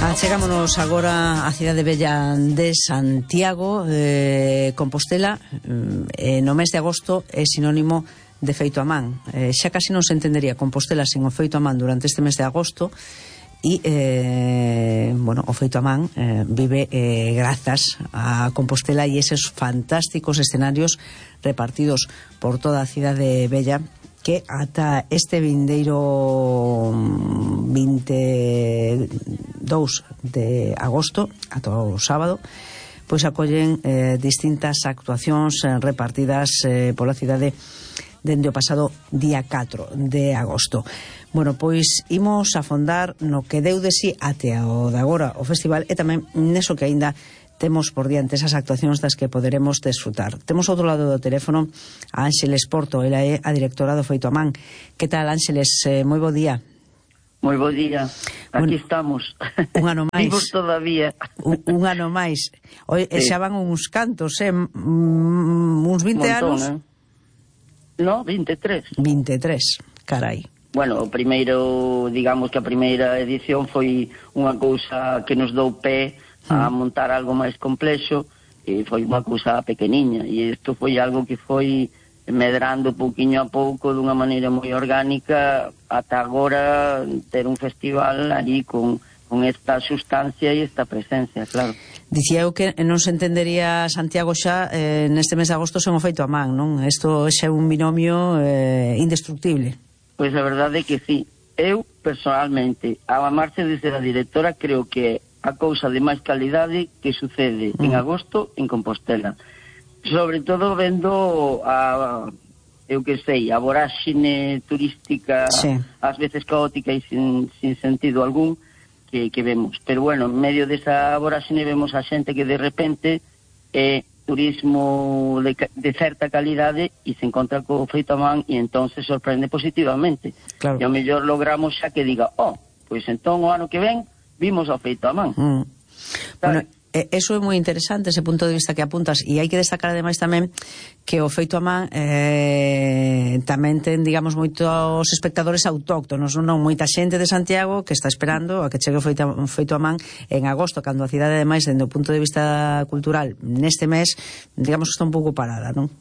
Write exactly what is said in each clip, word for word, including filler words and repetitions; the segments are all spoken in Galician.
Achegámonos agora á cidade bella de Santiago. eh, Compostela eh, no mes de agosto é sinónimo de feito a man. eh, Xa casi non se entendería Compostela sen o feito a man durante este mes de agosto. E, eh, bueno, o feito a man eh, vive eh, grazas a Compostela e eses fantásticos escenarios repartidos por toda a cidade bella, que ata este vindeiro vinte e dous de agosto, ata o sábado, pois acollen eh, distintas actuacións eh, repartidas eh, pola cidade dende o pasado día catro de agosto. Bueno, pois imos afondar no que deu de si até o de agora o festival, e tamén neso que aínda temos por diante, esas actuacións das que poderemos desfrutar. Temos outro lado do teléfono a Ánxeles Porto, ela é a directora do Feito a Man. Que tal, Ánxeles? Eh, moi bo día. Moi bo día. Aquí bueno, estamos. Un ano máis. Vivos todavía. Un, un ano máis. Oi, sí. Xa van uns cantos, eh? Mm, uns vinte Montón, anos? Eh? No, vinte e tres. vinte e tres, carai. Bueno, o primeiro, digamos que a primeira edición foi unha cousa que nos dou pé a montar algo máis complexo, e foi unha cousa pequeniña, e isto foi algo que foi medrando pouquiño a pouco dunha maneira moi orgánica ata agora ter un festival ali con, con esta sustancia e esta presencia, claro. Dicía eu que non se entendería Santiago xa eh, neste mes de agosto sen o feito a man, non? Isto xa é un binomio eh, indestructible. Pois a verdade é que sí. Eu, personalmente, a amarse desde a directora, creo que a cousa de máis calidade que sucede mm. en agosto en Compostela. Sobre todo vendo a, eu que sei, a voráxine turística, sí, ás veces caótica e sin, sin sentido algún, que, que vemos. Pero bueno, en medio desa voráxine vemos a xente que de repente é turismo de, de certa calidade e se encontra co feito a man e entón se sorprende positivamente. Claro. E ao mellor logramos xa que diga, oh, pois entón o ano que ven vimos ao feito a man. Mm. Bueno, eso é moi interesante, ese punto de vista que apuntas, e hai que destacar ademais tamén que o feito a man eh, tamén ten, digamos, moitos espectadores autóctonos, non? Moita xente de Santiago que está esperando a que chegue o feito a, feito a man en agosto, cando a cidade ademais, dende o punto de vista cultural, neste mes, digamos, está un pouco parada, non?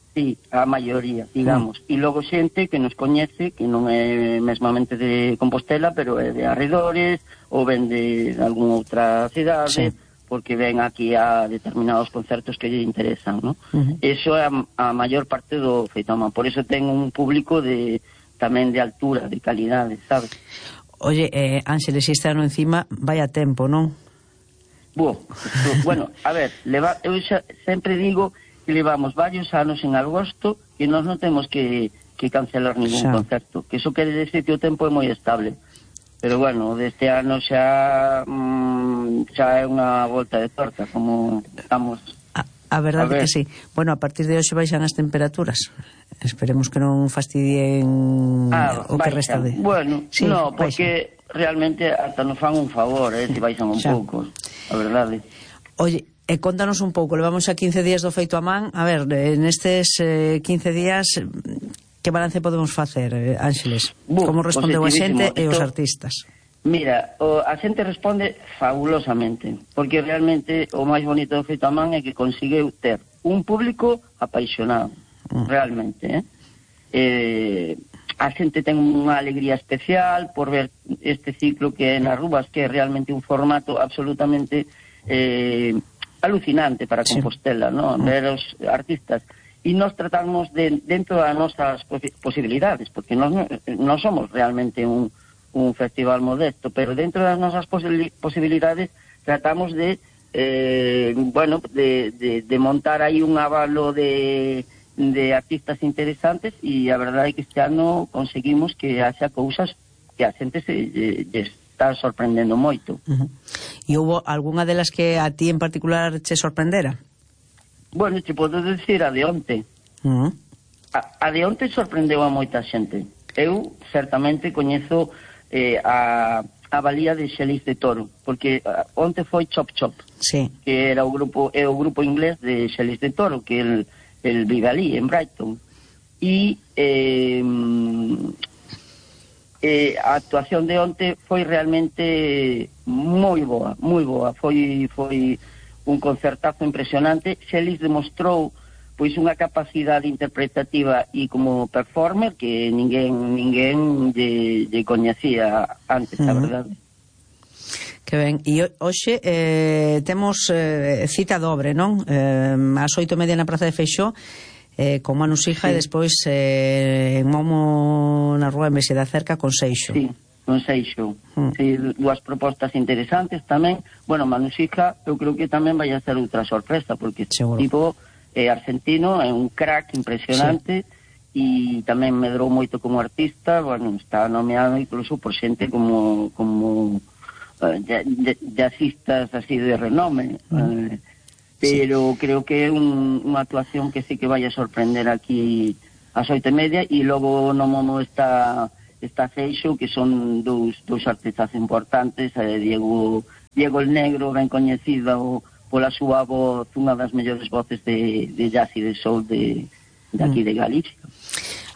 Sí, a maioría, digamos. Mm. E logo xente que nos coñece, que non é mesmamente de Compostela, pero é de arredores, ou ven de algunha outra cidade, sí, porque ven aquí a determinados concertos que lle interesan, ¿no? Uh-huh. Eso é a, a maior parte do feito a man. Por eso ten un público de tamén de altura, de calidade, sabes? Oye, eh, Ánxeles, este ano encima vaya tempo, non? Bo, bueno, a ver, leva, eu xa, sempre digo que levamos varios anos en agosto que nós non temos que, que cancelar ningún xa. concerto, que eso quere decir que o tempo é moi estable. Pero bueno, deste ano xa mmm, xa é unha volta de torta, como estamos. A, a verdade é que sí. Bueno, a partir de hoxe baixan as temperaturas. Esperemos que non fastidien ah, o que resta de... Bueno, sí, no, porque baixan. Realmente hasta nos fan un favor, eh, se baixan un xa. pouco, a verdade. Oye, e contanos un pouco, levamos xa quince días do feito a man. A ver, nestes eh, quince días, que balance podemos facer, Ánxeles? Uh, Como respondeu a xente e os artistas? Mira, o, a xente responde fabulosamente, porque realmente o máis bonito do feito a man é que conseguiu ter un público apaixonado, uh. realmente, eh? Eh, a xente ten unha alegría especial por ver este ciclo que é nas rúas, que é realmente un formato absolutamente eh, alucinante para Compostela, sí, ¿no? Ver os artistas e nos tratamos de, dentro das nosas posibilidades, porque nós non somos realmente un, un festival modesto, pero dentro das nosas posibilidades tratamos de eh, bueno, de, de, de montar aí un avalo de, de artistas interesantes, e a verdade é que este ano conseguimos que haxa cousas que a xente se lle está sorprendendo moito. Uh-huh. E houve algunha delas que a ti en particular che sorprendera? Bueno, te podo decir a de onte. Uh-huh. A, a de onte sorprendeu a moita xente. Eu, certamente, coñezo eh, a, a valía de Xelis de Toro, porque uh, onte foi Chop Chop, sí, que era o grupo, é o grupo inglés de Xelis de Toro, que el, el vive ali, en Brighton. E... Eh, eh, a actuación de onte foi realmente moi boa, moi boa. Foi foi un concertazo impresionante. Xelis demostrou pois unha capacidade interpretativa e como performer que ninguén ninguén lle, lle coñecía antes, a verdade. Que ben, e hoxe eh, temos eh, cita dobre, non? Eh, ás oito e media na Praza de Feixó, eh, con Manu Sija, sí. E despois eh, en Momo na Rúa en Vese da Cerca con Seixo. Sí, con Seixo. Mm. Sí, dúas propostas interesantes tamén. Bueno, Manu Sija, eu creo que tamén vai a ser outra sorpresa, porque seguro. Tipo é argentino, é un crack impresionante, e sí. Tamén medrou moito como artista. Bueno, está nomeado incluso por xente como como uh, jazzistas así de renome, mm. uh, pero sí. Creo que é un, unha actuación que sí que vai a sorprender aquí ás oito e media. E logo no Momo está está Seixo, que son dous, dous artistas importantes, eh, Diego Diego el Negro, ben coñecido pola súa voz, unha das mellores voces de, de jazz e de soul de, de aquí de Galicia.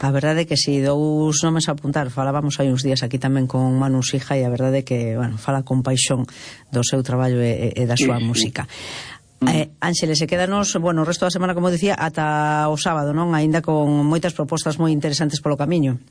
A verdade é que si, dous nomes a apuntar. Falábamos hai uns días aquí tamén con Manu Sija, e a verdade é que, bueno, fala con paixón do seu traballo e, e da súa sí, música. Sí. Eh, Ánxeles, se quedanos, bueno, o resto da semana, como dicía, ata o sábado, non? Aínda con moitas propostas moi interesantes polo camiño.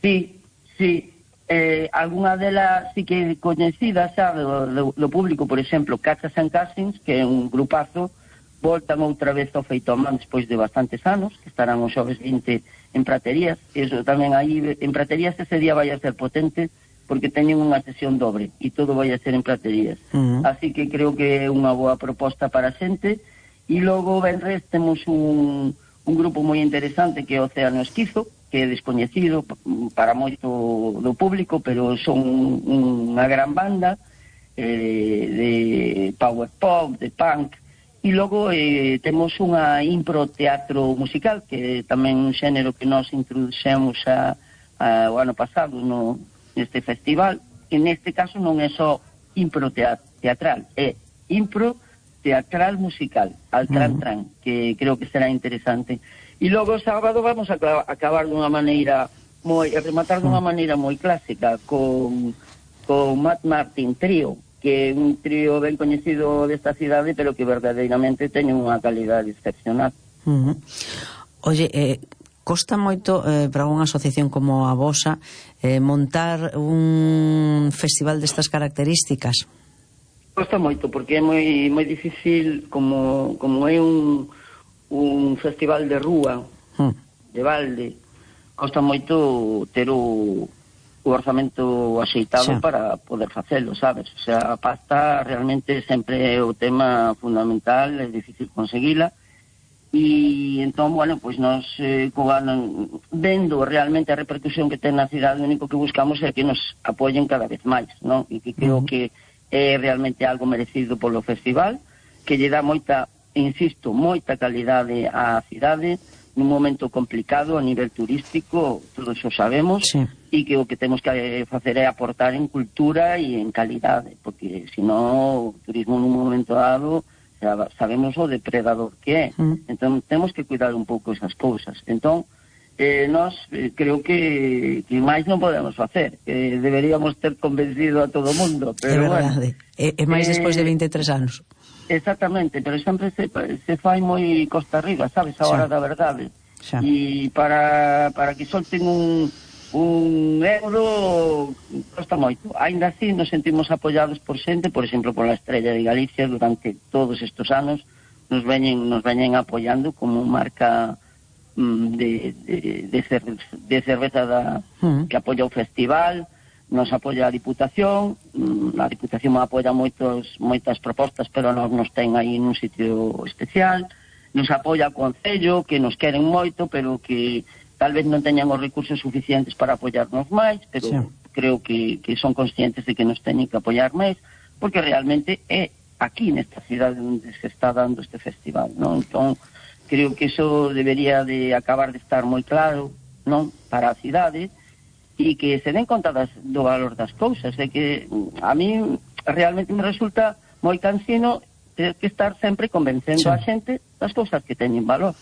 Sí, sí. Eh, alguna delas sí que coñecidas xa do, do, do público, por exemplo, Cachas and Casins, que é un grupazo, voltan outra vez ao feito a man despois de bastantes anos, que estarán os xoves vinte en Praterías. Eso tamén aí en Praterías ese día vai a ser potente, porque teñen unha sesión dobre e todo vai a ser en Praterías. Uh-huh. Así que creo que é unha boa proposta para a xente. E logo venres temos un, un grupo moi interesante que é o Océano Esquizo, que é descoñecido para moito do público, pero son unha gran banda eh, de power pop, de punk. E logo eh, temos unha impro teatro musical, que é tamén un xénero que nós introduxemos a, a, o ano pasado no, neste festival, que neste caso non é só impro teatral, é impro teatral musical, al tran tran, que creo que será interesante. E logo o sábado vamos a acabar dunha maneira moi, a rematar dunha maneira moi clásica con, con Matt Martin Trío, que é un trío ben coñecido desta cidade, pero que verdadeiramente ten unha calidade excepcional. Uh-huh. Oye, eh, costa moito eh, para unha asociación como a vosa eh, montar un festival destas características? Costa moito, porque é moi moi difícil, como, como é un un festival de rúa, hmm. de balde, costa moito ter o, o orzamento axeitado sí. Para poder facelo, sabes? O sea, a pasta realmente sempre é o tema fundamental, é difícil conseguila, e entón, bueno, pois nos eh, vendo realmente a repercusión que ten na cidade, o único que buscamos é que nos apoyen cada vez máis, non? E que creo uh-huh. que é realmente algo merecido polo festival, que lle dá moita, insisto, moita calidade á cidade nun momento complicado a nivel turístico, todos o sabemos, sí. E que o que temos que facer é aportar en cultura e en calidade, porque senón o turismo nun momento dado sabemos o depredador que é, mm. entón temos que cuidar un pouco esas cousas. Entón, eh, nós eh, creo que, que máis non podemos facer, que deberíamos ter convencido a todo o mundo, pero é verdade, bueno, é, é máis eh, despois de vinte e tres anos. Exactamente, pero sempre se, se fai moi costa arriba, sabes, a hora da verdade. Xa. E para, para que solten un, un euro costa moito. Ainda así nos sentimos apoiados por xente, por exemplo, pola Estrella de Galicia, durante todos estes anos nos veñen, nos veñen apoiando como marca mm, de, de, de, cerve, de cerveza da, mm. que apoia o festival. Nos apoia a Diputación, a Diputación apoia moitos, moitas propostas, pero nos, nos ten aí nun sitio especial. Nos apoia o Concello, que nos queren moito, pero que tal vez non teñan os recursos suficientes para apoiarnos máis, pero sí. Creo que, que son conscientes de que nos teñen que apoiar máis, porque realmente é aquí nesta cidade onde se está dando este festival, non? Entón, creo que iso debería de acabar de estar moi claro, non? Para a cidade, e que se den conta das, do valor das cousas, de que a mí realmente me resulta moi cansino ter que estar sempre convencendo sí. A xente das cousas que teñen valor.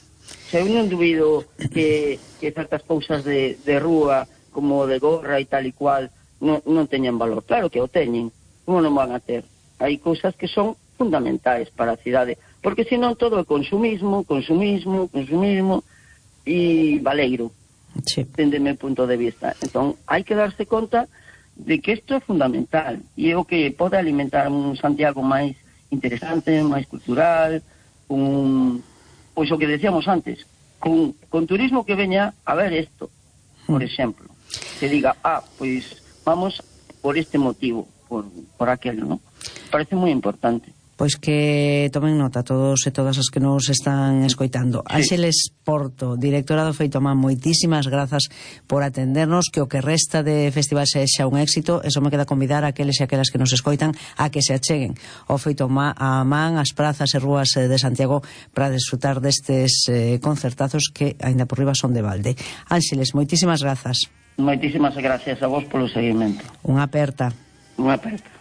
Se eu non dubido que, que certas cousas de, de rúa, como de gorra e tal e cual, non, non teñen valor. Claro que o teñen, como non van a ter? Hai cousas que son fundamentais para a cidade, porque senón todo é consumismo, consumismo, consumismo e valeiro, sí. dende meu punto de vista. Entón, hai que darse conta de que isto é fundamental e é o que pode alimentar un Santiago máis interesante, máis cultural, un, pois o que decíamos antes, con, con turismo que veña a ver isto, por exemplo, que diga, ah, pois vamos por este motivo, por, por aquel, ¿no? Parece moi importante. Pois que tomen nota todos e todas as que nos están escoitando. Sí. Ánxeles Porto, directora do Feitomán, moitísimas grazas por atendernos, que o que resta de festival sexa un éxito. Eso me queda convidar a aqueles e aquelas que nos escoitan a que se acheguen ao Feitomán, a man, as prazas e rúas de Santiago para desfrutar destes eh, concertazos que aínda por riba son de balde. Ánxeles, moitísimas grazas. Moitísimas gracias a vos polo seguimento. Unha aperta. Unha aperta.